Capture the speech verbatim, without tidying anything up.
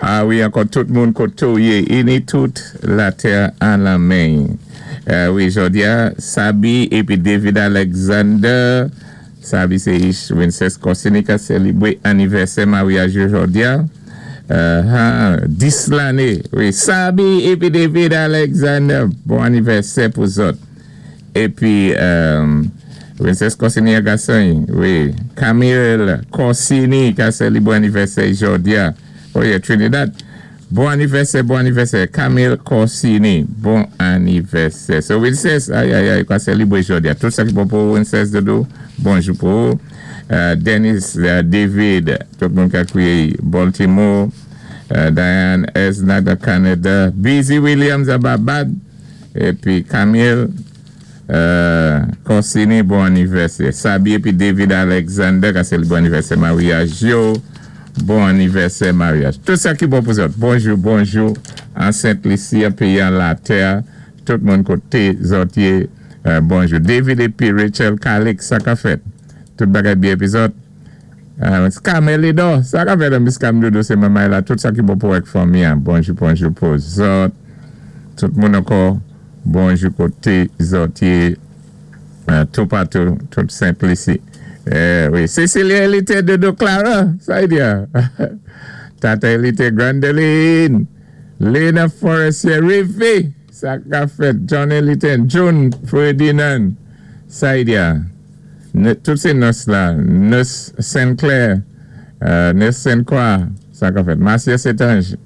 A wi, ankò tout moun koté ou yé, ini tout latè an lanmen. Euh, wi, jòdi-a, Sabi épi David Alexander, Sabi sé ich Princess Corsini ka sélibwé anivèsè maryaj jòdi-a. Euh, han, dis lanné. Wi, Sabi épi David Alexander, bon anivèsè pou zòt. Épi, euh, Princess Corsini a gason, wi, Camille Corsini ka sélibwé anivèsè jòdi-a. Wi, Trinidad. Bon anivèsè, bon anivèsè. Camille Corsini, bon anivèsè. So, Princess, ay, ay, ay, ka sélibwé jòdi-a. Tout sa ki bon pou Princess Dodo, bonjou pou ou. Euh, Dennis euh, David, tout moun ka kwiyé Baltimore, euh, Diane Esna de Canada, Busy Williams à Barbade, épi Camille euh, Corsini, bon anivèsè. Sabi épi David Alexander, ka sé bon anivèsè maryaj yo, bon anivèsè maryaj. Tout sa ki bon pou zòt. Bonjou, bonjou, an Sent Lisi, péyi an latè, tout moun koté zòt yé, euh, bonjou. David épi Rachel Calix, sa ka fèt. Tout bagay byen épi zòt. Euh, Carmelido, sa ka fèt Miss Camdodo, sé manmay la, tout sa ki bon pou èk fanmi an. Bonjou, bonjou pou zòt. Tout moun ankò, bonjou koté zòt yé, euh, tout patou, tout Sent Lisi. Eh, wi, Cecilia Elite Dodo Clara, sa y di a. Tata Elite Grandeline, Lena Forestier, Rivi, sa ka fèt, John Elite, June Ferdinand, sa y di a. Ne- Tout sé nurse la, nurse Sinclair, euh, nurse Saint-Croix, sa ka fèt. Marcia Setange, nurse